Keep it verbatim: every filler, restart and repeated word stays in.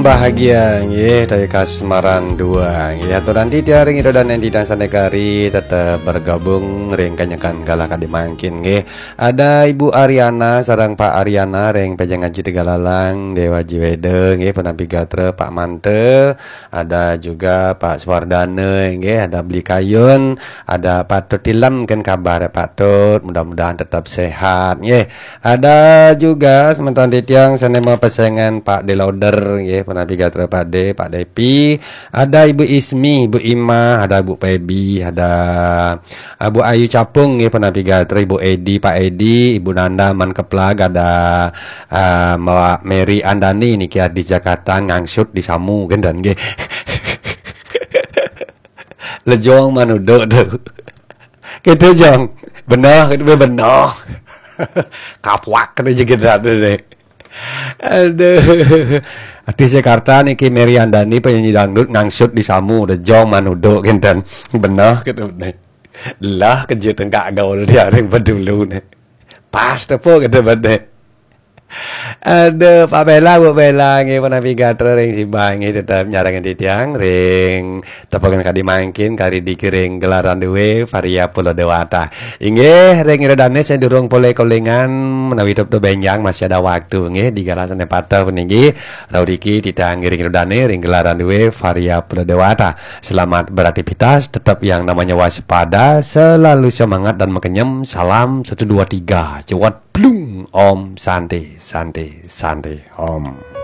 Bahagia nggih, dari Kasmaran dua nggih. Aturan titiang ring ida dané titiang sané kari tetep bergabung ring kanyekan galah kadi mangkin nggih. Ada Ibu Ariana sareng Pak Ariana ring Pejeng Aji Tegalalang, Déwa Jiweda nggih, punapi gatra Pak Mante, ada juga Pak Suwardana nggih, ada Beli Kayun, ada Pak Tut Tilem, kén kabar Pak Tut, mudah-mudahan tetap sehat nggih. Ada juga semeton titiang sané mapesengan Pak Deloder nggih, punapi gatra Pak De, Pak Depi. Ada Ibu Ismi, Ibu Ima, ada Ibu Pebi, ada Ibu Ayu Capung nggih, punapi gatra Ibu Edi, Pak Edi, Ibu Nanda Man Keplag, ada ah, Mbak Mary Andani niki di Jakarta ngangsut di Samu kénten nggih. Lejong manuduk tuh. Gitu, Jong. Bener, gitu, bener. Kapuak, gitu, gitu, gitu. Aduh. Artis Jakarta niki Mary Andani, penyanyi dangdut, ngangsut di Samu, Lejong manuduk kénten. Bener, gitu, nih. Lah, kejut enggak gaul dia ring bedulu nih. Pas tepo, gitu, bener. Aduh, Pak Bella, Bu Bella, nggih, punapi gatra ring Sibai nggih, tetep nyarengin titiang ring tepungan kadi mangkin, kari dikiring gelaran dué Varia Pulo Dewata. Inggih, ring ida dané sadurung polih kolingan, menawi tetep bénjang masih ada waktu nggih, di galah sané pateh puniki, rauh niki titiang ngiring ida dané ring gelaran dué Varia Pulo Dewata. Selamat beraktivitas, tetap yang namanya waspada, selalu semangat dan makenyem. Salam satu dua tiga. Cewat plung. Om Santi, Santi, Santi, Om.